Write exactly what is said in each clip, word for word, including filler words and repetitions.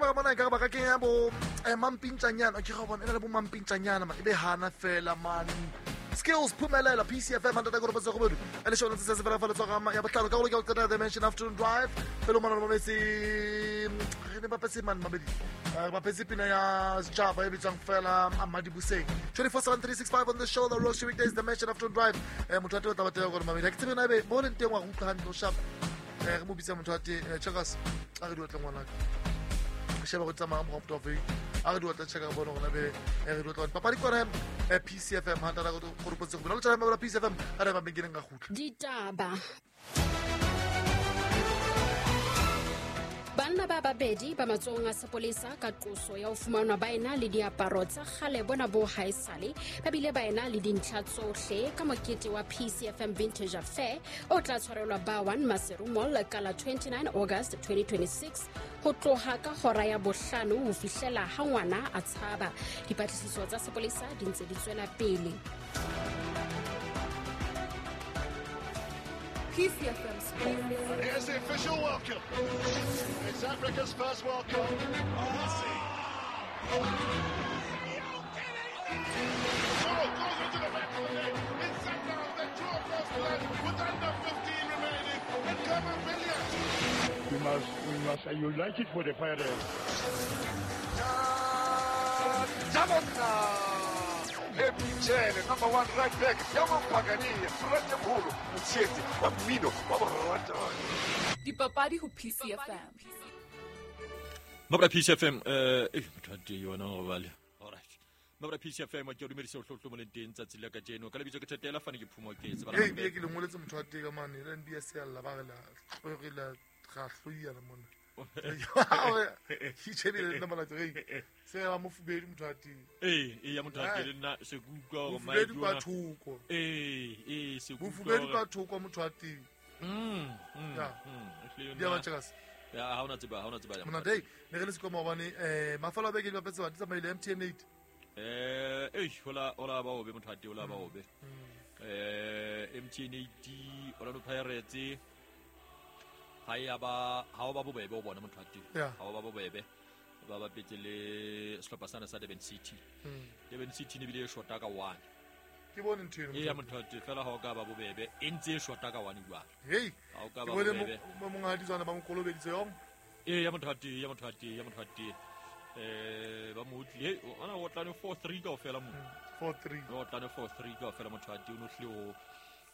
sheba ka bona ekare ba ka kenya bo eh, mampintjanyana. Ke ga bona e na le bo mampintjanyana man e be hana fela man. Skills Phumelela P C F M ntata gore botse go bodu. E le shona se se fela fela tswa ya botlhano ka go ke tsena Dimension Afternoon Drive. Pelo mana mo metsi re ne ba petse man mabedi. Ba petse pina ya Java e bitswang fela Amadi Buseng. twenty-four seven three six five on the show the Roshi weekdays Dimension Afternoon Drive. Eh motho a tla batla gore mamedi. Ke tsebe na be mo leng teng wa go utlwa hantle o sharp. Eh re mo bitsa motho a te checkers a re di otla ngwana ka. Sheba go tsamaya mo go motho a re di otla check ka bona gona be re di otla papadi kwana P C F M ha ntata go go potse go bona le tsana P C F M a re ba beginning ga gutla ditaba. Banna ba babedi ba matsohong a sepolesa ka qoso ya ho fumanwa ba ena le diaparo tsa kgale bona bo haesale ba bile ba ena le dintlha tsohle ka mokete wa P C F M Vintage Affair o tla tshwarelwa ba one Maseru Mall ka la twenty-nine August twenty twenty-six ho tloha ka hora ya bohlano ho fihlela ha ngwana a tshaba. Dipatlisiso tsa sepolesa di ntse di tswela pele. P C F M Sports. Here's the official welcome. It's Africa's first World Cup. Messi. Soro goes into the back of the net. It's Sanders that drew across the net with under fifteen remaining. And Kevin Billiard. We must, we must unite it for the Pirates. Jamona. Epicele, number one right back, Yaman Pagani, Frente Mholo, Motshetse, wa mmino, wa borata. Dipapadi ho P C F M. Mabra P C F M, eh, eh, motho a yona go bale. All right. Mabra P C F M ke dumedisa o hlotlo mo leng teng tsatsi la kajeno. Ka lebitso ke Thetela fane ke phumo ke tsebala. Hey, ke le ngoletse motho a teng ka mane, le N B S ya la ba re la re la ga hloiana mona. Ke tshebile nna mala tsere se ba mo fubedi motho a teng. Eh, eh ya motho a teng nna se kutlwa gore mai jona. Thoko. Eh, eh se kutlwa. Mofubedi ka thoko motho a teng. Mm. Mm. Ya ba chekas. Ya ha ona tseba, ha ona tseba ya. Mona dei, ne re le sekoma hobane eh mafelo a beke di bapetse ba di tsamaile M T N eight. Eh, eh hola hola ba obe motho a teng hola ba obe. Eh M T N eight Orlando Pirates ha ya ba ha o ba bobebe o bona motho a teng. Ha o ba bobebe ba ba petse le sehlopha sana sa Durban City. Durban City ne bile e shota ka one. Ke bone ntho eno. E ya motho a teng fela ha o ka ba bobebe e ntse e shota ka one jwale. Hey. Ha o ka ba bobebe. Mo monghadi tswana ba mo kolobeditse yong. E ya motho a teng, ya motho a teng, ya motho a teng. Eh ba mo utlile ona o tlane four three kaofela mo. four three. O tlane four three kaofela motho a teng o no hle o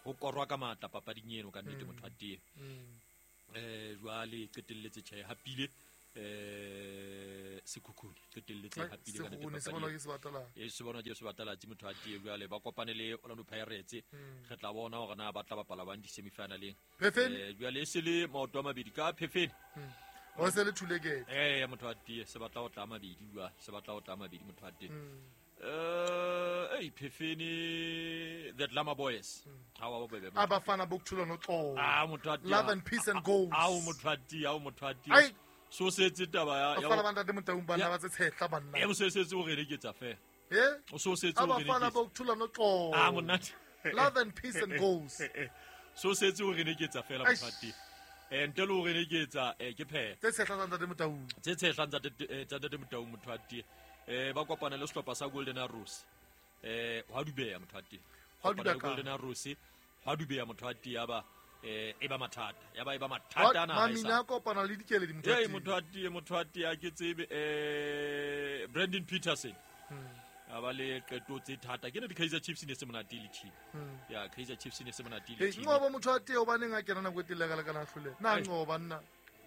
ho korwa ka matla papading eno ka nnete motho a teng. Eh jwale qetelletse tjhe hapile eh Sekhukhune qetelletse hapile ka nnete se bona ke sebatala e se bona ke sebatala tse motho a tie jwale ba kopane le Orlando Pirates re tla bona hore na ba tla bapala bang di semifinaleng eh jwale e se le maoto a mabedi ka Phefeni o se le thulekete eh motho a tie se batla ho tla mabedi jwa se batla ho tla mabedi motho a tie eh eh Phefeni the Glamour Boys ha wa bobebe abafana bokuthula noxolo ah motho a tie love and peace and goals ah motho a tie ah motho a tie so setse taba ya ya bana ba Motaung bana ba tse tshetla banna e so setse o re ke tsa fe eh o so setse o re abafana bokuthula noxolo ah monate love and peace and goals so setse o re ke tsa fela motho a tie eh ntle le o re ke tsa ke phe tse tshetla tsa ntate Motaung tse tshetla tsa ntate Motaung motho a tie eh ba kopana le sehlopha sa Golden Arrows eh hwa dubeya motho a teng hwa dubeya Golden Arrows hwa dubeya motho a teng ya ba eh e ba mathata ya ba e ba mathata na mamina kopana le dikeledi motho a teng eh motho a teng motho a teng a ke tsebe eh Brandon Peterson a ba le qeto tse thata ke ne di Kaizer Chiefs ne se monate le team ya Kaizer Chiefs ne se monate le team eh ngoba motho a teng o baneng a kena nako e telele ka kana hlole na ngoba nna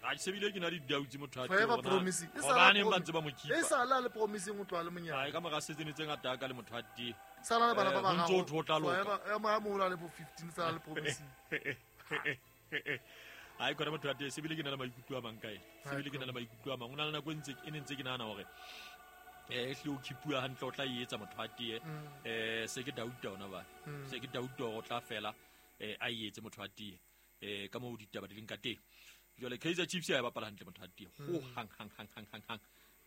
a sebile ke na di doubts motho a teng ona hobane ba ntse ba mo kipa e sala le promising o tloa le monyane ai ka mora setsene tse ngata ka le motho a teng sala le bana ba ba ntso o tla loka ya mo mo le bo fifteen sala le promising ai kona motho a teng sebile ke na le maikutlo a mang kae sebile ke na le maikutlo a mang o na le nako e ntse e ne ntse ke nahana hore eh hle o khipua hantle o tla etsa motho a teng eh se ke doubt ona ba se ke doubt hore o tla fela eh a etse motho a teng eh ka mo ditaba di leng ka teng jwale Kaizer Chiefs ya bapala hantle motho a teng ho hang hang hang hang hang hang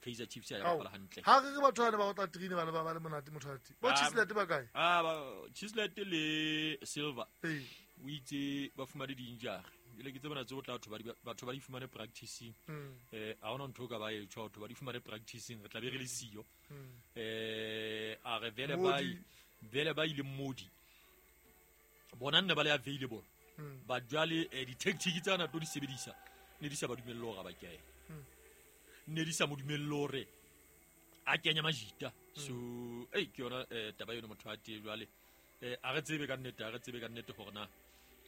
Kaizer Chiefs ya bapala hantle ha re re batho ba ba tla trine ba ba le monate motho a teng bo Chislet ba kae ah ba Chislet le Silver eh o itse ba fumane di-injury Ile ke tsebana tse o tla batho ba batho ba di fumane practicing. Eh a hona ntho ka ba e tjho batho ba di fumane practicing re tla be re le siyo. Eh a re vele ba vele ba ile Modi. Bona nne ba le available. Ba jwale di tactic tsa na tlo di sebedisa ne di sa ba dumelle hore ba kene. Ne di sa mo dumelle hore a kenya majita. So eh ke yona taba yona motho a tee jwale. Eh a re tsebe ka nnete a re tsebe ka nnete hore na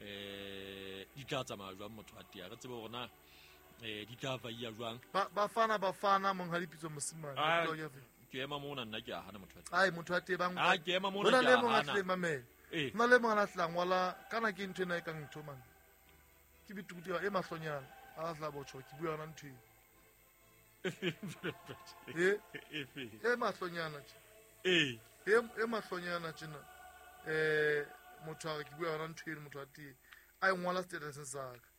eh di tla tsamaya jwang motho a tee a re tsebe hore na eh di tla vaia jwang. Ba bafana bafana monghadi Pitso Mosimane ke ema mona nna ke a hana motho a tee. Ai motho a tee bang a ke ema mona ke a hana. Mamela nna le mongwe a tla ngwala kana ke ntho ena e kang ntho man ke bitukuti e mahlonyana a tla botjho ke bua yona ntho e e e mahlonyana tje e e mahlonyana tjena eh motho a ke bua yona ntho eno motho a tee a e ngwala status sa ka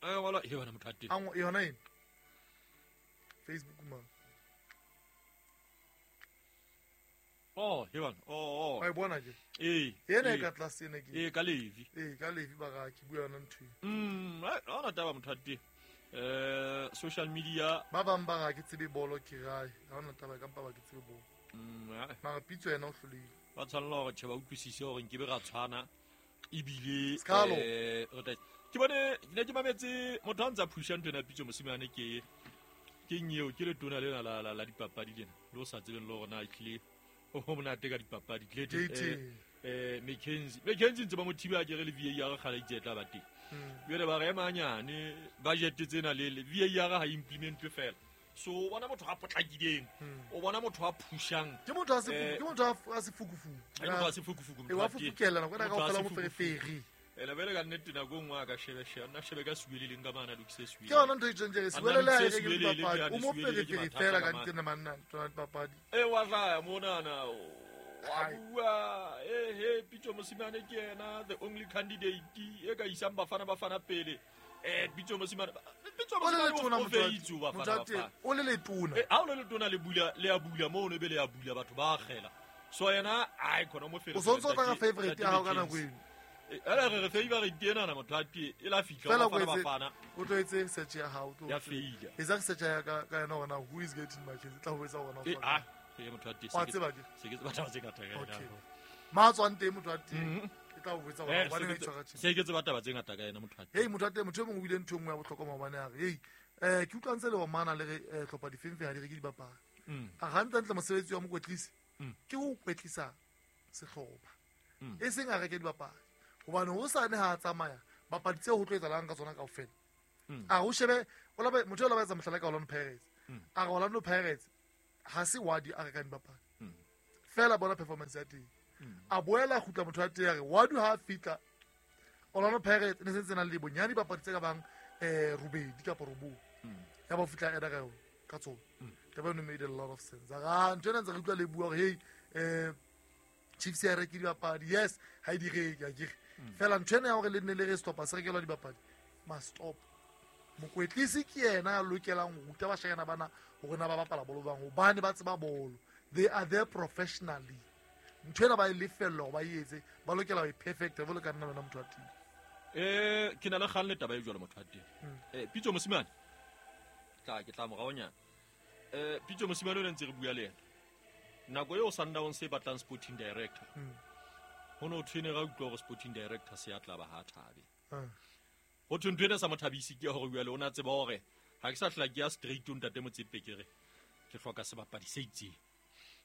a ngwala e yona motho a tee a yona eng Facebook man oh yona oh oh a e bona ke eh yena e ka tlase ena ke eh ka levi eh ka levi ba ga ke bua yona ntho mm ha ona taba motho a tee eh social media ba bang ba ga ke tsebe bolo ke gae ha ona taba ka mpa ba ke tsebe bolo mm mara Pitso yena o hlolehile ba tshwanela hore tjhe ba utlwisise hore nke be ra tshwana ebile eh re ke bone ne ke mametse motho a ntsa phusha ntho ena Pitso Mosimane ke ke nyeo ke letona lena la la la dipapadi lena le o sa tsebeng le hore na ehlile o monate ka dipapadi tlete eh McKenzie McKenzie ntse ba mo thiba ke re le V A R kgale itse tla ba teng jwale ba re emanyane budget tsena le V A R ha implementwe fela so o bona motho a potlakileng o bona motho a phushang ke motho a se ke motho a se fukufuku ke motho a se fukufuku motho wa fufukela nako ena kaofela mo fereferi ena vele ka nnete nako nngwe a ka shebe shebe nna shebe ka suwele leng ka mana lokise suwele ke yona ntho e tjeng jere suwele le ha e reke dipapadi o mo fereferi fela ka ntena manna tsona dipapadi e wa hlaya monana wa bua eh he Pitso Mosimane ke yena the only candidate e ka isang bafana bafana pele eh Pitso Mosimane Pitso Mosimane o feitse bafana bafana o le letona eh ha o le letona le bula le a bula mo no be le a bula batho ba akgela so yena ai khona mo fereferi o sontso tla ka favorite ya hao ka nako eno ela re re favorite ena na motho a tee e la fihla bafana bafana o tlo etse search ya hao ya feila etsa search ya ka ka yena hore na who is getting McKenzie tla ho etsa hore na eh ah e motho a tee wa tseba ke se ke tseba taba tse ngata ka yena ma tswang teng motho a tee e tla ho etsa hore ba ne tshwara tjhe se ke tseba taba tse ngata ka yena motho a tee hey motho a tee motho e mongwe o ile ntho e nngwe ya bohlokwa maobane a re hey eh ke utlwa ntse le wa mana le re hlopha difenfe ha di reke dibapadi a gantla ntle mosebetsi wa mokwetlisi ke ho kwetlisa sehlopha e seng a reke dibapadi hobane ho sa ne ha tsamaya bapadi tse ho tlo etsalang ka tsona kaofela a ho shebe o la motho o la ba etsa mohlala ka Orlando Pirates a re Orlando Pirates ha se wadi a rekang dibapadi fela bona performance ya teng a boela kgutla motho wa teng a re wadi ha fitla Orlando Pirates ne sentse na le bonyane dibapadi tse ka bang eh robedi kapa robong ya ba fitla ena ka yona ka tsona taba eno made a lot of sense a ntho ena ntse re utlwa le bua hore hey eh Chiefs ya reke dibapadi yes ha e di reke akere fela ntho ena ya hore le nne le re stop se rekelwa dibapadi must stop mokwetlisi ke yena a lokelang ho ruta bashanyana bana hore na ba bapala bolo bang hobane ba tseba bolo they are there professionally ntho ena ba e lefella hore ba e etse ba lokela ho e perfect jwalo ka nna lona motho wa teng eh ke na le kgang le taba e jwalo motho wa teng eh Pitso Mosimane tla ke tla moraonyana eh Pitso Mosimane o ne ntse re bua le yena nako eo Sundowns se batlang sporting director ho no thwene ra utlwa hore sporting director se ya tla ba ha thabe ho thwe ntho ena sa mothabisi ke hore jwale o na tseba hore ha ke sa hla ke ya straight o ntate Motsepe ke re ke hloka sebapadi se itseng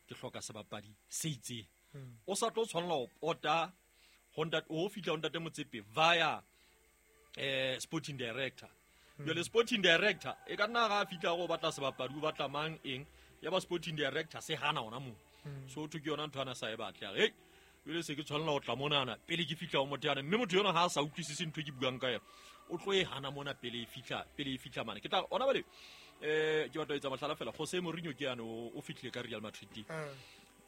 ke hloka sebapadi se itseng o sa tlo tshwanela ho pota ho ntate o fihla ho ntate Motsepe via eh sporting director jwale sporting director e ka nna ga fihla go batla sebapadi o batla mang eng ya ba sporting director se hana ona mo so thwe ke yona ntho ana sa e batle a re hey jwale se ke tshwanela ho tla monana pele ke fihla ho motho yana mme motho yona ha a sa utlwisise ntho e ke buang ka yona o tlo e hana mona pele e fihla pele e fihla mane ke tla ona bale eh ke batla ho etsa mohlala fela Jose Mourinho ke yane o fihlile ka Real Madrid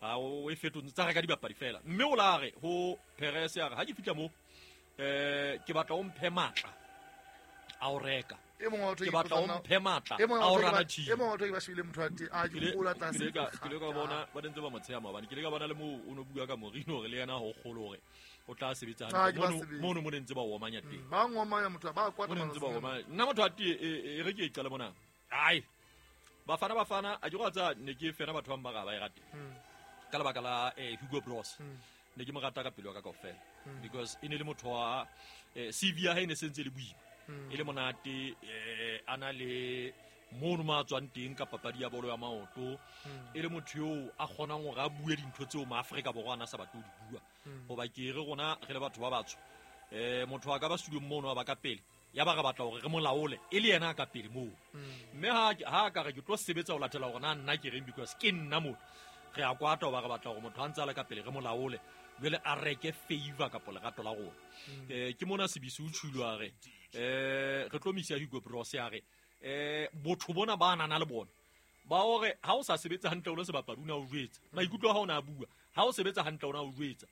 ha o e fetotse tsa reka dibapadi fela mme o la re ho Perez ya re ha ke fihla mo eh ke batla o mphe matla a o reka E mongwe wa batho ke batla o mphe matla e mongwe a wa o batho rana ke ba- team e mongwe wa batho ke ba shebile motho wa teng a ke ke ile gola ke tlase ile ka ke ile ka bona ba ntse ba mo tsheya maobane ke ile ka bona le moo o no bua ka Mourinho hore le yena ho kgolo hore o tla sebetsa Ah, hantle ke ba mono sebetsa. mono mo ne ntse ba omanya teng ba ngomanya motho ba kwata mo ne ntse ba matsatsi ana. omanya nna motho a tie e re ke e qale mona ai bafana bafana a ke go tsa ne ke fena batho ba mma ga ba e rate Mm. ka lebaka la eh, Hugo Broos Mm. ne ke mo rata ka pelo ya ka kaofela because e ne le motho wa eh, C V ya hae e ne sentse e le boima e le monate eh, a na le mono mo a tswang teng ka papadi ya bolo ya maoto e le motho eo a kgonang hore a bue dintho tseo maafrika borwa a na sa batle ho di bua hoba ke re rona re le batho ba batsho um motho a ka ba studiong mono a ba ka pele ya ba re batla hore re mo laole e le yena a ka pele moo mme ha ha ka re ke tlo sebetsa ho latela hore na nna ke reng because ke nna motho re a kwata hoba re batla hore motho a ntse a le ka pele re mo laole jwale a reke favor kapo lerato la rona um ke mona sebisi o tjhulo a re um re tlo misa Hugo Broos a re um botho bona ba nana le bona ba hore ha o sa sebetse hantle o le sebapadi o ne a o jwetsa maikutlo a hao o ne a bua ha o sebetsa hantle o ne a o jwetsa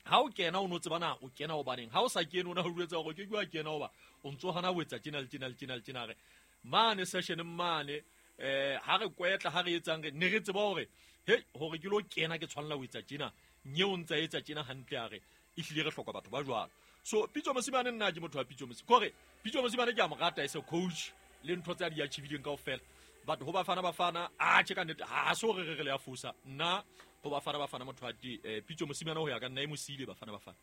ha o kena o no tseba na o kena hobaneng ha o sa kene o ne o jwetsa hore ke ke wa kena hoba o ntso hana ho etsa tjena le tjena le tjena le tjena re mane session mane eh ha re kwetla ha re etsang re ne re tseba hore hei hore ke lo kena ke tshwanela ho etsa tjena nye o ntsa etsa tjena hantle a re ehlile re hloka batho ba jwalo so Pitso Mosimane nna ke motho wa Pitso Mosimane kore Pitso Mosimane ke a mo rata as a coach le ntho tse a di achievileng kaofela but ho bafana bafana a tjhe ka nnete ha se hore re re le ya fosa nna ho bafana bafana motho wa teng eh, Pitso Mosimane ho ya ka nna e mo siile bafana bafana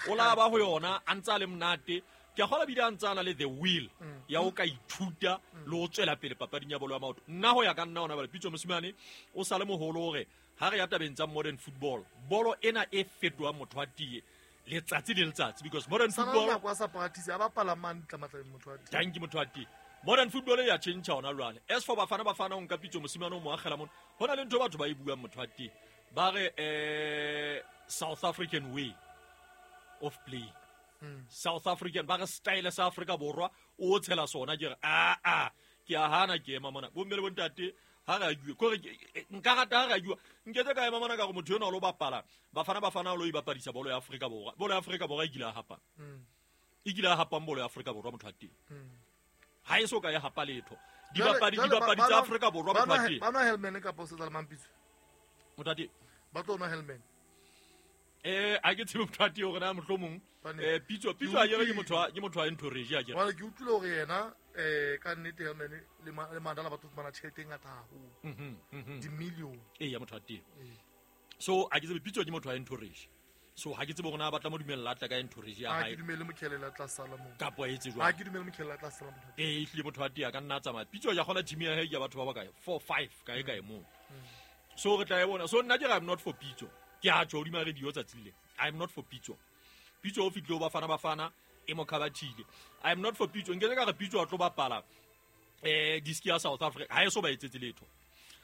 o la ba ho yona a ntse a le monate ke a kgolwa bile a ntse a na le the will ya ho ka ithuta le ho tswela pele papading ya bolo ya maoto nna ho ya ka nna hona bale Pitso Mosimane o sa le moholo hore ha re ya tabeng tsa modern football bolo ena e fetohang motho wa tie letsatsi le letsatsi because modern Sa na le football nako a sa practice a bapala mane tlamatlabeng motho wa teng thank you motho wa teng modern football e ya change hona jwale as for bafana bafana o nka Pitso Mosimane o mo akgela mona ho na le ntho e batho ba e buang motho wa teng ba re eh South African way of playing South African ba re style sa Afrika Borwa o tshela sona ke re a a ke a hana ke ema mona bomme le bontate ha re argue kore ke- nka rata ha re argue nketse ka ema mona ka gore motho enwa o lo bapala bafana bafana o lo ibapadisa bolo ya Afrika Borwa bolo ya Afrika Borwa e kile ya hapang e kile ya hapang bolo ya Afrika Borwa motho wa teng ha e so ka ya hapa letho dibapadi Jwale- jwale dibapadi ba- tsa ba nwa- Afrika Borwa ba motho wa nwa- teng ba nwa Hellman kapa o setsa le Mampitso motho wa teng ba tlo nwa Hellman eh a ke tsebe motho wa teng hore na mohlomong Hobane eh Pitso Pitso a kere ke motho wa ke motho wa entourage a kere jwale ke utlwile hore yena um ka nnete Hellman le Ma- le Mandala ba tlo fumana tjhelete e ngata haholo Mhm, mhm. di-million ee ya motho wa teng so a ke tsebe Pitso ke motho wa entourage so ha ke tsebe hore na ba tla mo dumella a tla ka entourage ya ha hae ke dumele mokhelele a tla sala moo kapa a etse ha jwang ke dumele mokhelele a tla sala motho ee ehlile motho wa teng a ka nna a tsamaya Pitso ya kgona team ya hae ke ya batho ba bakae four five kae kae moo so re tla e bona so nna ke re I'm not for Pitso ke a tjho hodima radio tsatsi le I'm not for Pitso Pitso o fihlile ho bafana bafana e mo khabathile I'm not for Pitso nketse ka re Pitso a tlo bapala eh diski ya South Africa ha e so ba etsetse letho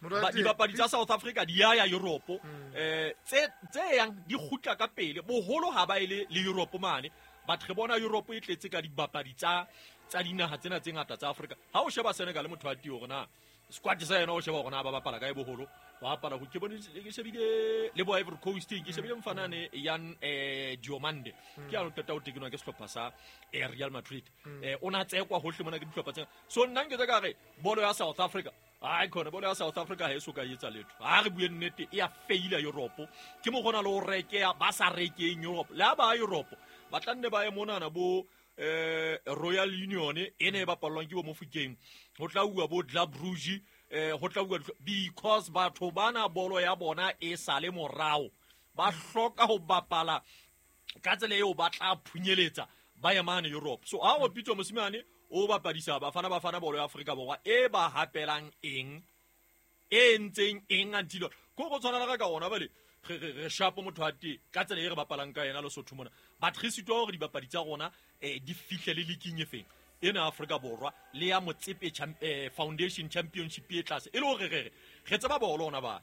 Motho wa Ba- teng- dibapadi tsa South Africa di ya ya Europe eh tse tse yang di kgutla ka pele boholo ha ba ile le Europe mane but re bona Europe e tletse ka dibapadi tsa tsa dinaha tsena tse ngata tsa Africa ha o sheba Senegal motho wa teng hore na squad sa yena o sheba hore na ba bapala kae boholo ba bapala ho ke bone ke shebile le bo Ivory Coast ke shebile mfanane Yan eh Diomande ke ya no qeta ho tekenwa ke sehlopha sa eh, Real Madrid eh o na tsekwa hohle mona ke dihlopha tsena so nna nketse ka re bolo ya South Africa ai khona bolo ya South Africa ha e so ka etsa letho ha re bue nnete e ya faila Europe ke mo gona le ho rekeya ba sa rekeng Europe le ha ba Europe ba tla nne ba ye monana bo eh Royal Union e ne e bapallwang ke bo Mofokeng ho tla uwa bo Club Brugge eh ho tla uwa because batho bana bolo ya bona e sale morao ba hloka ho bapala ka tsela eo ba tla phunyeletsa ba ye mane Europe so ha o Pitso Mosimane o bapadisa bafana bafana bolo ya Afrika Borwa e ba hapelang eng e entseng eng until ko go tshwana le ka ona bale re re re shapo motho wa teng ka tsela e re bapalang ka yena Lesotho mona but re sitwa hore dibapadi tsa rona eh, di fihle le leaking e feng ena Afrika Borwa le ya Motsepe Champ- eh, Foundation Championship e tlase e le hore re re re tseba bolo ona bale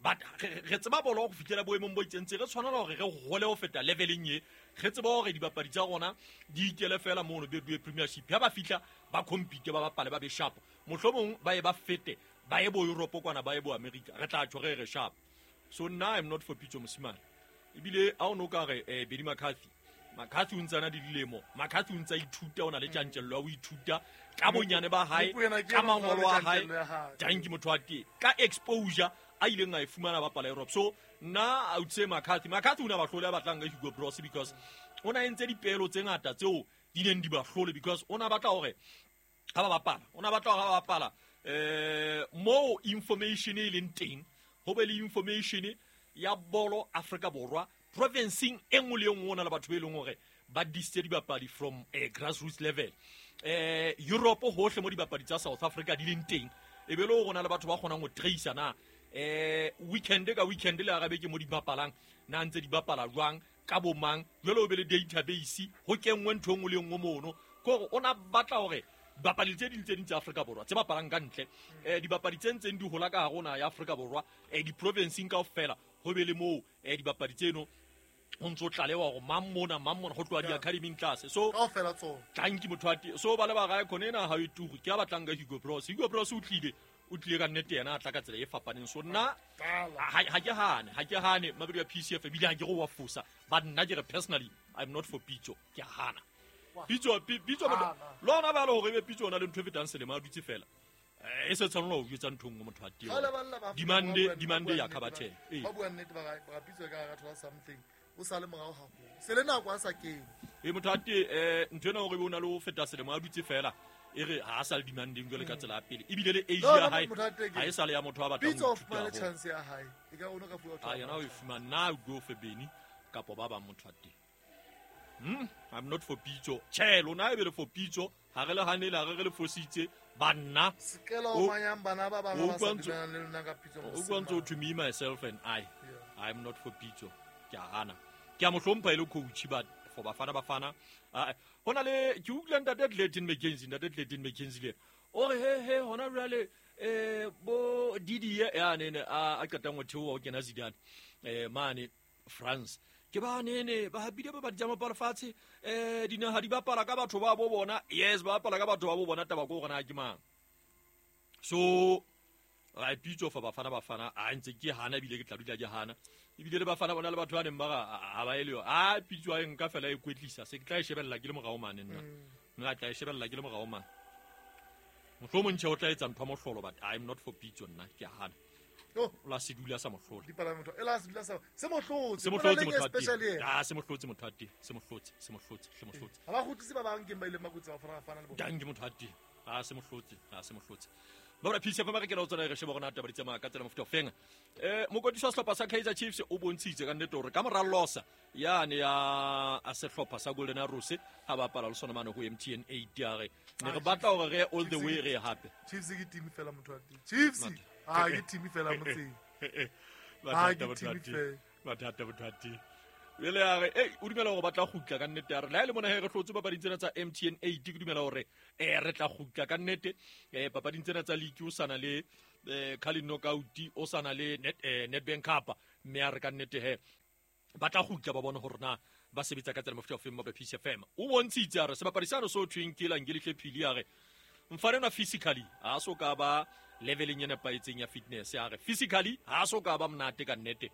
but re re tseba bolo go fihlela boemong bo itseng tse re tshwanela hore re hole ho feta leveleng e re tseba hore dibapadi tsa rona di ikele fela mono Betway Premiership ha ba fihla ba compete ba bapale ba be sharp mohlomong ba ye ba fete ba ye bo Europe kwana ba ye bo America re tla tjho re re sharp so nna I'm not for Pitso Mosimane ebile ha o no ka re eh, Benny McCarthy McCarthy o ntse a na le dilemo McCarthy o ntse a ithuta o na le tjantjello ya ho ithuta ka bonyane ba hae ka mangolo a hae thank you motho wa teng ka exposure a ileng a e fumana bapala Europe so nna I would say McCarthy McCarthy o na ba hlole a batlang ka Hugo Broos because o na entse dipelo tse ngata tseo di neng di ba hlole because o na batla hore ha ba bapala o na batla hore ha ba bapala eh mo information e leng teng ho be le information ya bolo Afrika Borwa provinceng e nngwe le e nngwe ona le batho be leng hore ba disitse dibapadi from eh, grassroots level eh Europe hohle mo dibapadi tsa South Africa di leng teng e be le hore na le batho ba kgonang ho tracer na eh weekend ka weekend le arabe ke mo di bapalang na ntse di bapala jwang ka bomang jwale o be le database ho kenngwe ntho e nngwe le e nngwe mono kore o na batla hore dibapadi tse ding tse ding tsa Afrika Borwa tse bapalang ka ntle eh dibapadi tse ntseng di hola ka hare ho naha ya Afrika Borwa eh di-provinceng kaofela ho be le moo eh dibapadi tseno ho ntso tlalewa hore mang mona mang mona ho tloha di-academyng tlase so kaofela tsona thank you motho wa teng so ba le ba gae khone ena ha e tugu ke a batlang ka Hugo Broos Hugo Broos o tlile o tlile ka nnete yena a tla ka tsela e fapaneng so nna ha ha ke hane ha ke hane mabedi ya P C F ebile ha ke go wa fosa but nna ke re personally I'm not for Pitso ke a hana Pitso Pitso lona ba le hore ebe Pitso ona le ntho e fetang selemo a dutse fela e se tshwanela ho jwetsa ntho nngwe motho wa teng demand demand ya khabathe ba bua nnete ba ba Pitso ka ga thola something o sa le morao haholo se le nako a sa kene e motho a teng eh ntho ena hore o na le ho feta selemo a dutse fela e re ha a sa le demanding jwale ka tsela ya pele ebile le age ya hae ha e sa le ya motho a batlang Pitso of fumane chance ya hae e ka ono ka fuwa a yena o e fumana na go for Beni kapo ba bang motho a teng hmm I'm not for Pitso che lona e be le for Pitso ha re le hanele ha re re le fositse banna sekela o manyang bana ba bang ba sa dumelang le lona ka Pitso o kwantso to me myself and I I'm not for Pitso ke a hana ke a mo hlompha e le coach but for Bafana Bafana hona le ke utlwa ntate Clayton McKenzie ntate Clayton McKenzie le o re he he hona jwale eh bo Didier ya nene a qetang ho theoha ho kena Zidane eh mane France ke ba nene ba hapile ba ba dijama pala fatshe eh dinaha di bapala ka batho ba bo bona yes ba bapala ka batho ba bo bona taba ko gona ke mang so ra Pitso fa Bafana Bafana a ntse ke hana ebile ke tla dula ke hana ebile le Bafana bona le batho ba neng ba ga ba ele yo a Pitso a nka fela e kwetlisa se ke tla e shebella ke le morao mane nna nna tla e shebella ke le morao mane mohlomong tjhe o tla etsa ntho mohlolo but I'm not for Pitso nna ke hana oh la se dula sa mohlolo dipalamento e la se dula sa se mohlotse se mohlotse motho a se mohlotse motho a teng se mohlotse se mohlotse se mohlotse ha ba kgutlise ba bang ke ba ile makutse ba Bafana Bafana le bona danke motho a teng a se mohlotse a se mohlotse ba P C F ba re ke la tsona re sheba rona taba di tsamaya ka tsela mofuta ofeng eh mokotisi wa sehlopha sa Kaizer Chiefs o bontshitse ka nnete hore ka mora losa yane ya a sehlopha sa Golden Arrows ha bapala le sona mane ho M T N eight ya re ne re batla hore re all the way re hape Chiefs ke team fela motho wa teng Chiefs ah ke team fela motseng ah ke team fela mathata motho wa teng jwale a re ei o dumela hore ba tla kgutla ka nnete a re le ha e le mona he re hlotse papading tsena tsa M T N eight ke dumela hore eh re tla kgutla ka nnete eh papading tsena tsa league o sana le eh Carling Knockout o sana le Net eh, Nedbank Cup mme a re ka nnete he ba tla kgutla ba bone hore na ba sebetsa ka tsela mofuta ofeng mo P C F M o bontshitse a re sebapadi sano so thweng ke Langelihle Phili a re mfana na physically ha so ka ba leveling e nepahetseng ya fitness a re physically ha so ka ba monate ka nnete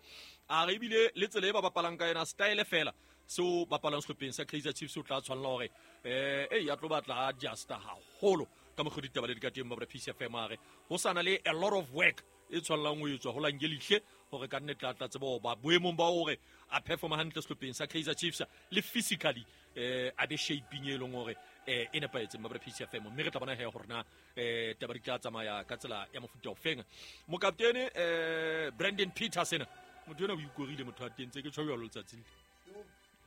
a re ebile le tsela e ba bapalang ka yona style fela seo bapalang sehlopheng sa Kaizer Chiefs o tla tshwanela hore eh ei a tlo batla adjusta haholo ka mokgwa ditaba le di ka teng ba P C F M a re ho sana le a lot of work e tshwanelang ho etswa ho Langelihle hore ka nnete a tla tseba ho ba boemong ba hore a performa hantle sehlopheng sa Kaizer Chiefs le physically eh a be shaping e leng hore eh e nepahetseng ba P C F M mme re tla bona he hore na eh taba di tla tsamaya ka tsela ya mofuta ofeng mokaptene eh Brandon Petersen motho ena o ikorile motho a teng tse ke tjho jwalo letsatsi le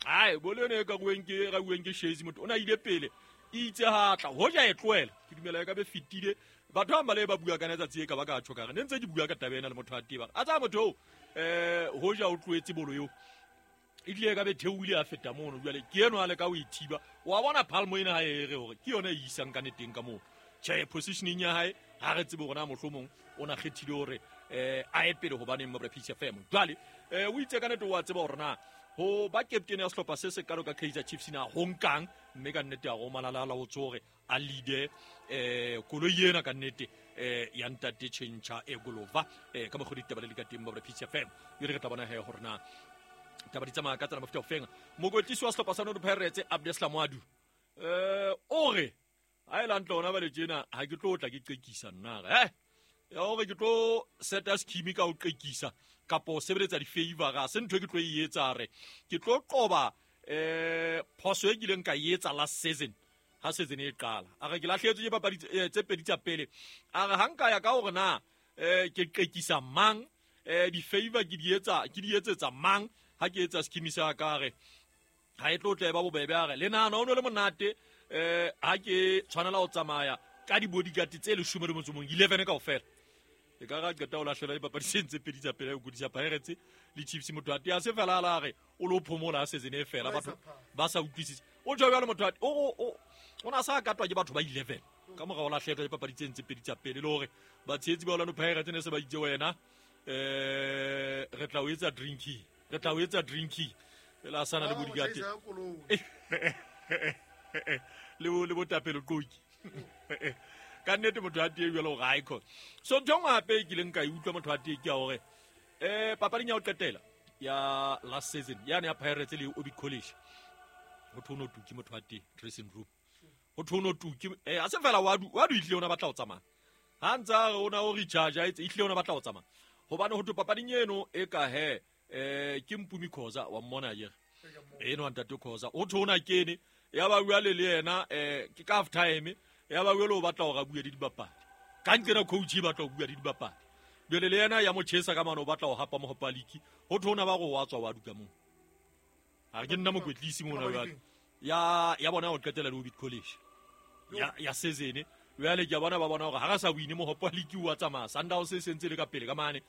ai bolo ene ka bueng ke ra bueng ke Shezi motho ona ile pele itse ha tla hoja e tlohela ke dumela e ka be fitile batho ba bale ba bua ka letsatsi e ka ba ka tjho ka re ne ntse ke bua ka taba ena le motho a teba a tsa motho eh hoja o tlohetse bolo eo e tlile ka be theoile a feta mono jwale ke eno a le ka o ithiba wa bona palmo ena ha e re hore ke yona e isang ka neteng ka moo tjhe positioning ya hae ha re tsebe hore na mohlomong o na kgethile hore eh a e pele hobaneng mo P C F M jwale eh o itse ka nete wa tseba hore na ho ba captain ya sehlopha se se kalo ka Kaizer Chiefs na ho nkang mme ka nnete ya go malala la o tsore a leader eh koloi ena ka nnete eh ya ntate Chencha e Golova eh ka mokgwa ditaba le di ka teng ba P C F M e re tla bona he hore na Taba di tsamaya ka tsela mofuta ofeng. Mokwetlisi wa sehlopha sa Orlando Pirates Abdeslam Wadu eh o re ha e le hantle hona ba le tjena ha ke tlo tla ke qekisa nna re eh ya hore ke tlo seta scheme ka ho qekisa kapo sebeletsa di-favor ga se ntho e ke tlo e etsa re ke tlo qoba eh phoso e kileng ka e etsa last season ha season e qala. A re ke lahlehetswe ke papadi tse pedi tsa pele. A re ha nka ya ka hore na eh ke qekisa mang eh di-favor ke di etsa ke di etsetsa mang ha ke etsa scheme sa ka re ha e tlo tla ba bobebe. A re le nahana o no le monate eh ha ke tshwanela ho tsamaya ka di-bodyguard tse leshome le motso mong eleven kaofela. E ka ra qeta ho lahlela dipapadi tse ntse pedi tsa pele ho kodisa Pirates le Chiefs. Motho a tea se fela a re o lo phomola season e fela batho ba sa utlwisise. O tjho jwalo motho o o o na sa katwa ke batho ba eleven ka mora ho lahlehetswa dipapadi tse ntse pedi tsa pele le hore batshehetsi ba Orlando Pirates ne se ba itse wena eh re tla o etsa drinking re tla o etsa drinking fela a sana le bodyguard le bo le botapelo qoki ka nnete motho a tee jwalo hore ha e khona. So ntho e nngwe hape e kileng ka e utlwa motho a tee ke ya hore eh papading ya ho qetela ya last season yane ya Pirates le Orbit College ho thwe o no tuki motho a tee dressing room ho thwe o no tuki eh a se fela wa du wa du itlile ona batla ho tsamaya ha ntsa re ona o recharge a etse itlile ona batla ho tsamaya hobane ho thwe papading eno e ka he eh ke Mpumi Khoza wa mmona akere eno ntate Khoza o thwe ona kene ya ba bua le le yena eh ke ka half time ya ba bua o batla hore a bue le dibapadi ka nqena coach e batla ho bua le dibapadi jwale le yena ya mo chesa ka mano o batla ho hapa mohopa league ho thwe ona ba go wa tswa wa duka moo a re ke nna mokwetlisi mona jwale ya ya bona ho qetela le Orbit College ya ya season jwale ke a bona ba bona hore ha re sa wine mohopa league wa tsamaya Sundowns e sentse le ka pele ka mane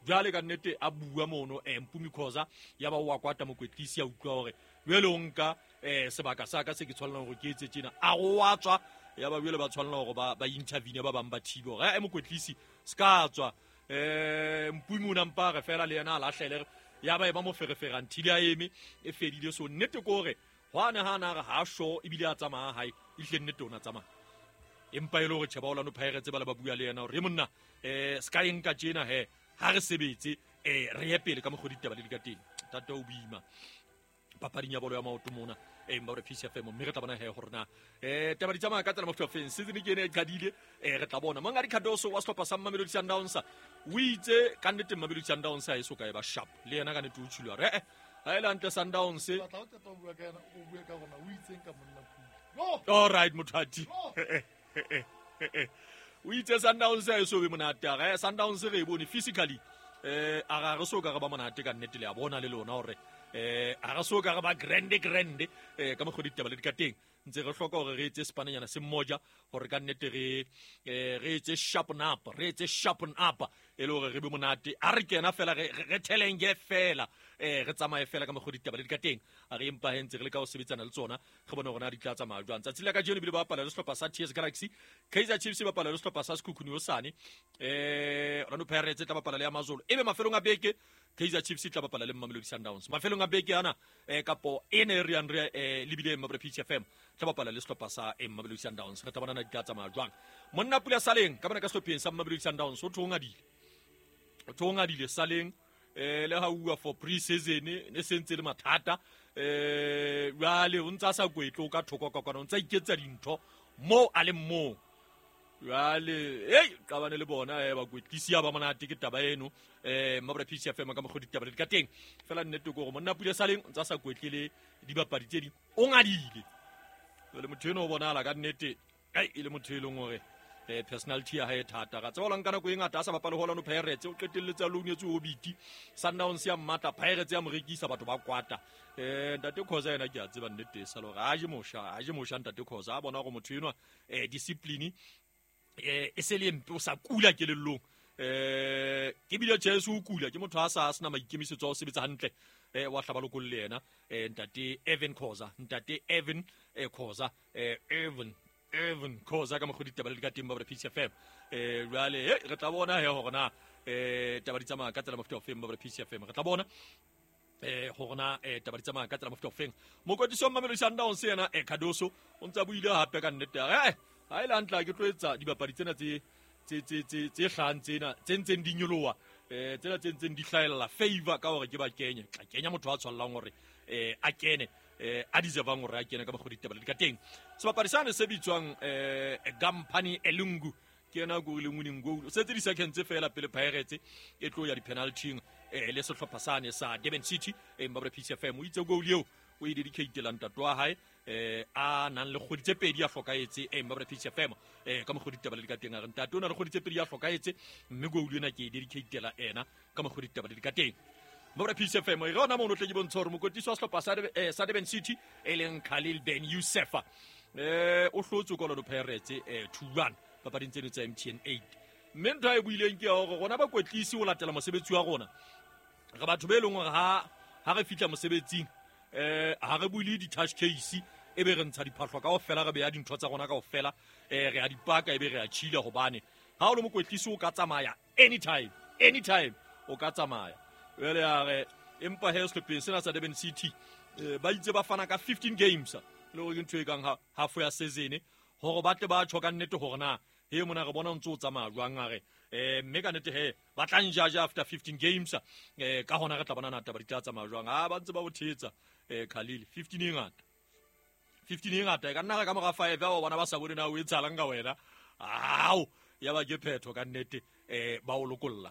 jwale ka nnete a bua mono eh Mpumi Khoza ya ba wa kwata mokwetlisi ya utlwa hore jwale o nka eh sebaka sa ka se ke tshwanelang hore ke etse tjena a go wa tswa ya ba jwale ba tshwanela hore ba ba intervene ba bang ba thibe hore eh mokwetlisi se ka tswa eh Mpumi o nampa re fela le yena a lahlele ya ba e ba mo ferefera until a eme e fedile. So nnete ke hore hwane ha na re ha sho ebile a tsamaya hae ehlile nnete ona tsamaya empa e le hore tjhe ba Orlando Pirates ba le ba bua le yena hore monna eh se ka e nka tjena he ha re sebetse eh re ye pele ka mokgwa ditaba le di ka teng tata o boima papading ya bolo ya maoto mona eh mba re P C F M mme re tla bona he hore na eh taba di tsamaya ka tsela mofuta ofeng season ke ene e qadile eh re tla bona Mongadi Cardoso wa sehlopha sa Mamelodi Sundowns o itse ka nnete Mamelodi Sundowns ha e so ka e ba sharp le yena ka nnete o tshulwa re eh ha e le hantle Sundowns batla o qeta ho bua ka yena o bue ka rona o itseng ka monna Pule. All right mothati o itse Sundowns ha e so be monate a re Sundowns re e bone physically eh a ga re so ka re ba monate ka nnete le a bona le lona hore eh a re so ka re ba grande grande eh ka mokgwa ditaba le di ka teng ntse re hloka hore re etse sepanenyana se mmoja hore ka nnete re eh re etse sharpen up re etse sharpen up e le hore re be monate a re kena fela re re thelenge fela eh re tsamaye fela ka mokgwa ditaba le di ka teng a re empa he ntse re le ka ho sebetsana le tsona re bone hore na di tla tsamaya jwang. Tsatsi la kajeno ebile ba bapala le sehlopha sa T S Galaxy, Kaizer Chiefs e bapala le sehlopha sa Sekhukhune hosane eh Orlando Pirates e tla bapala le Amazulu ebe mafelong a beke Kaizer Chiefs e tla bapala le Mamelodi Sundowns mafelong a beke ana eh kapo e ne re yang re eh lebile Mabra P C F M tla bapala le sehlopha sa Mamelodi Sundowns re tla bona na di tla tsamaya jwang. Monna Pula Saleng ka bona ka sehlopheng sa Mamelodi Sundowns o thongadile o thongadile Saleng eh le ha uwa for pre-season ne sentse le mathata eh jwale o ntsa sa kwetlo ka thoko ka kwana o ntsa iketsa dintho mo a le mo jwale hey qabane le bona eh ba kwetlisi ba monate ke taba eno eh Mabra P C F M ka mokgwa ditaba le di ka teng fela nnete ke hore monna Pule Saleng o ntsa sa kwetlele dibapadi tse ding o ngadile jwale motho eno o bonahala ka nnete ai e le motho e leng hore eh personality ya hae thata ga tseba ka nako e ngata a sa bapale ho Orlando Pirates o qetelletse a loanetswe Orbit Sundowns ya mmatla Pirates ya mo rekisa batho ba kwata eh ntate Khoza yena ke a tseba nnete sa lore a je mosha a je mosha ntate Khoza a bona hore motho enwa eh discipline eh e se le mpe o sa kula kelellong eh ke bile Jesu o kula ke motho a sa sena maikemisetso a ho sebetsa hantle eh wa hlaba lokolle yena eh ntate Evan Khoza ntate Evan eh Khoza eh Evan Evan Khoza ka mokgwa ditaba le di ka teng ba P C F M eh jwale eh re tla bona he hore na eh taba di tsamaya ka tsela mofuta ofeng ba P C F M re tla bona eh hore na eh taba di tsamaya ka tsela mofuta ofeng. Mokwetlisi wa Mamelodi Sundowns yena eh Cardoso o ntsa buile hape ka nnete eh ha e le hantle ke tlo etsa dibapadi tsena tse tse tse tse tse hlahang tsena tse ntseng di nyoloha eh tsela tse ntseng di hlaella favor ka hore ke ba kenye tla kenya motho a tshwallang hore eh a kene eh a deservang hore a kene ka mokgwa ditaba di ka teng. Sebapadi sane se bitswang eh Gampani Elungu ke yena go le winning goal se tse di seconds tse fela pele Pirates e tlo ya di penalty eh le sehlopha sane sa Durban City e Mbabre P C F M o itse goal eo o e dedicate la ntate wa hae eh a nang le kgwedi tse pedi a hlokahetse e Mbabre P C F M eh ka mokgwa ditaba le di ka teng a re ntate o na le kgwedi tse pedi a hlokahetse mme goal ena ke e dedicate la ena ka mokgwa ditaba le di ka teng. Mbabre P C F M e rona mono tle ke bontsha hore mokotisi wa sehlopha sa sa Durban City e leng Khalil Ben Youssef eh o hlotse ka Orlando Pirates eh two one papading tseno tsa M T N eight. Mme ntho e buileng ke hore rona bakwetlisi ho latela mosebetsi wa rona re batho be leng hore ha ha re fihla mosebetsing eh ha re buile di-touch case e be re ntsha diphahlo kaofela re beya dintho tsa rona kaofela eh re a di paka e be re a chila hobane ha o le mokwetlisi o ka tsamaya anytime anytime o ka tsamaya. Jwale a re empa he sehlopheng sena sa Durban City ba itse ba fana ka fifteen games le hore ke ntho e kang half ya season hore ba tle ba tjho ka nnete hore na he mona re bona o ntse o tsamaya jwang a re eh mme ka nnete he ba tla njaja after fifteen games eh ka hona re tla bona na taba di tla tsamaya jwang ha ba ntse ba o thetsa eh Khalil fifteen e ngata fifteen e ngata e ka nna ka mora five ba bona ba sa bone na o etsahalang ka wena ao ya ba ke phetho ka nnete eh ba o lokolla.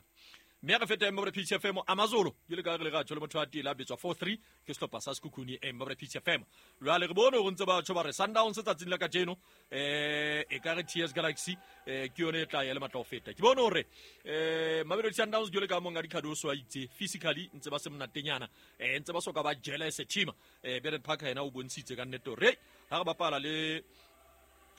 Mme re feta Mbabre P C F M Amazulu ke le ka re le ga tshole motho a tela bitswa four three ke sehlopha sa Sekhukhune Mbabre P C F M. Jwale re bone hore ntse ba tjho ba re Sundowns tsatsing la kajeno eh e ka re T S Galaxy eh ke yone e tla ya le matla ho feta. Ke bone hore eh Mamelodi Sundowns jwale ka monga Dikhadoso a itse physically ntse ba se monatenyana eh ntse ba soka ba jealous team eh Bernard Parker yena o bontshitse ka nnete hore ha re bapala le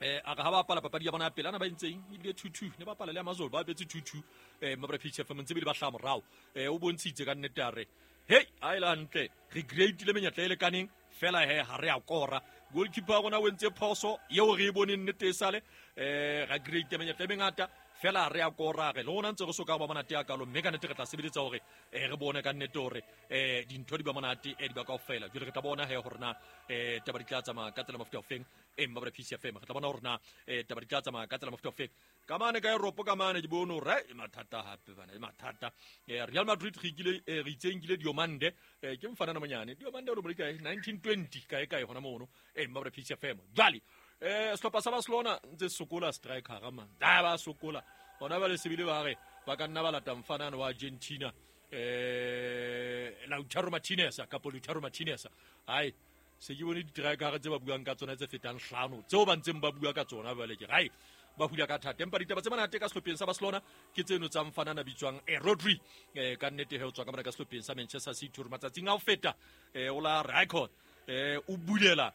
eh a ga ba bapala papadi ya bona pele ana ba entseng ebile two two ne bapala le Amazon ba betse two two eh Mbabre P C F M ntse bile ba hla morao eh o bontshitse ka nnete a re hey a ile hantle re greatile menyetla e lekaneng fela he ha re a kora goalkeeper ya rona o entse phoso eo re e boneng nnete e sale eh ra great menyetla e mengata fela re a kora re le rona ntse re soka ba monate ya kalo mme ka nnete re tla sebeletsa hore eh re bone ka nnete hore eh dintho di ba monate eh di ba kaofela. Jwale re tla bona he hore na eh taba di tla tsamaya ka tsela mofuta ofeng e Mbabre P C F M re tla bona hore na eh taba di tla tsamaya ka tsela mofuta ofeng ka mane ka Europe ka mane ke bone hore e mathata hape bana e mathata eh Real Madrid re kile re itseng kile Diomande eh ke mfana na monyane Diomande o le kae nineteen twenty kae kae hona mono e Mbabre P C F M. Jwale eh sehlopha sa Barcelona ntse sokola striker ga man da ba sokola hona ba le sebile ba re ba ka nna ba lata mfanana wa Argentina eh Lautaro Martinez kapa Lautaro Martinez ai se ke bone di-striker tse ba buang ka tsona tse fetang hlano tseo ba ntseng ba bua ka tsona jwale ke ai ba hula ka thata. Empa ditaba tse monate ka sehlopheng sa Barcelona ke tseno tsa mfanana bitswang eh Rodri eh ka nnete he o tswa ka mona ka sehlopheng sa Manchester City hore matsatsing a ho feta eh o la record eh o bulela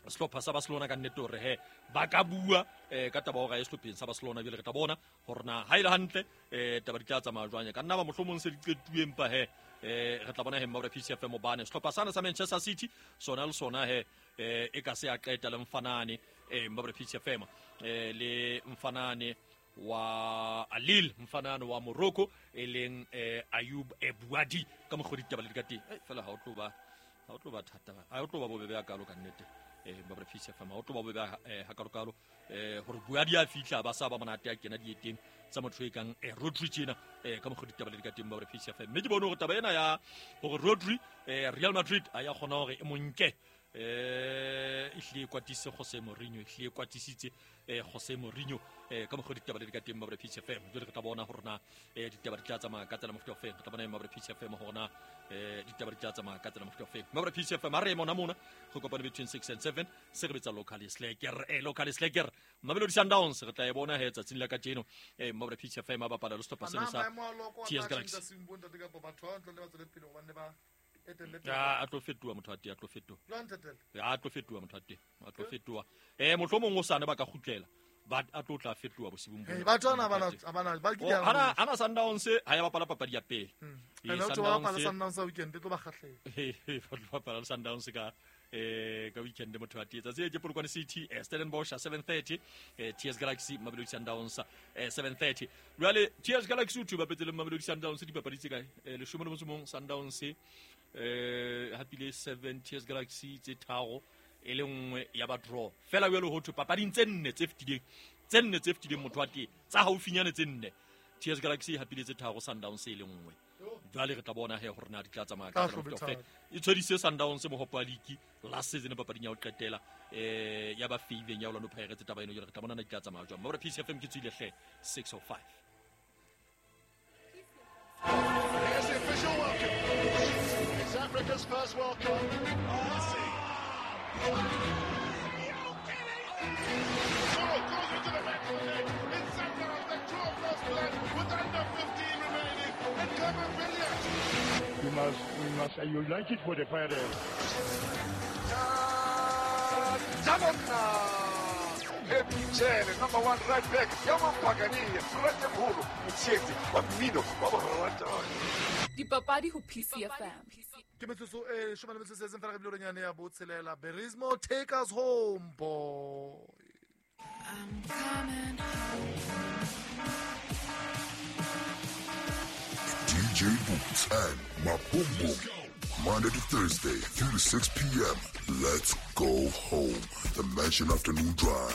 sehlopha sa Barcelona ka nnete hore he ba ka bua eh ka taba hore ya sehlopheng sa Barcelona jwale re tla bona hore na ha ile hantle eh taba di tla tsamaya jwang ka nna ba mohlomong se di qetuwe empa he eh re tla bona he Mbabre P C F M hobane sehlopha sana sa Manchester City sona le sona he eh e ka se a qeta le mfanane eh Mbabre P C F M eh le mfanane wa Alil mfanane wa Morocco e leng eh Ayub Ebouadi ka mokgwa ditaba le di ka teng eh fela ha o tlo ba ha o tlo ba thata ha o tlo ba bobebe ya kalo ka nnete eh Mbabre P C F M ha o tlo ba bobebe ha kalo kalo eh hore Buadi a fihla ba sa ba monate a kena dieteng tsa motho e kang eh Rodri tjena eh ka mokgwa ditaba le di ka teng Mbabre P C F M. Mme ke bone hore taba ena ya hore Rodri eh Real Madrid a ya kgona hore e monke eh e hlile kwatise Jose Mourinho e hlile kwatisitse eh Jose Mourinho eh ka mokgwa ditaba le di ka teng Mbabre P C F M. Jwale re tla bona hore na eh ditaba di tla tsamaya ka tsela mofuta ofeng re tla bona Mbabre P C F M hore na eh ditaba di tla tsamaya ka tsela mofuta ofeng Mbabre P C F M. Ha re mona mona go kopana between six and seven se re betsa local slacker eh local slacker Mamelodi Sundowns re tla e bona he tsatsing la kajeno eh Mbabre P C F M ba bapala le sehlopha seno sa T S Galaxy. Ya a tlo fetoha motho a teng a tlo fetoha ya a tlo fetoha motho a teng a tlo fetoha eh mohlomong o sane ba ka kgutlela ba a tlo tla fetoha bosibung bo ba tsona bana bana ba ke ana ana Sundowns ha ya bapala papadi ya pele eh Sundowns Sundowns weekend tlo ba kgahlela eh ba tlo bapala Sundowns ka eh ka weekend motho a teng tsatsi ke Polokwane City eh Stellenbosch seven thirty eh T S Galaxy Mamelodi Sundowns eh seven thirty. Jwale T S Galaxy o tlo bapetse le Mamelodi Sundowns dipapadi tse kae eh leshome le motso mong Sundowns eh hapile seven T S Galaxy tse tharo e le nngwe ya ba draw fela jwale ho thwe papading tse nne tse fetileng tse nne tse fetileng motho wa teng tsa haufinyane tse nne T S Galaxy e hapile tse tharo, Sundowns e le nngwe. Jwale re tla bona he hore na di tla tsamaya ka Tla tsela hlobe efe. E tshwedise Sundowns mohopo wa league last season papading ya ho qetela eh ya ba faveng ya Orlando Pirates taba eno jwale re tla bona na di tla tsamaya jwang. Mabura P C F M ke tswile hle six oh five. Here's the official welcome. It's Africa's first World Cup. Oh, goes into the back of the net. It's Sundowns that draw first blood with under fifteen remaining. And Clement Billiat. We must, we must unite it for the Pirates. Jamona. Happy Jele, number one right back. Yama Pagani, Frate Mholo, Mtshetsi, wa mmino wa borata. Dipapadi ho P C F M. Ke metsotso e leshome le metso e tsheletseng fela re bile nyane ya botshelela. Berismo, take us home, boy. I'm coming home. D J Boots and Mabumbu. Monday to Thursday, three to six P M. Let's go home. The Mansion Afternoon Drive.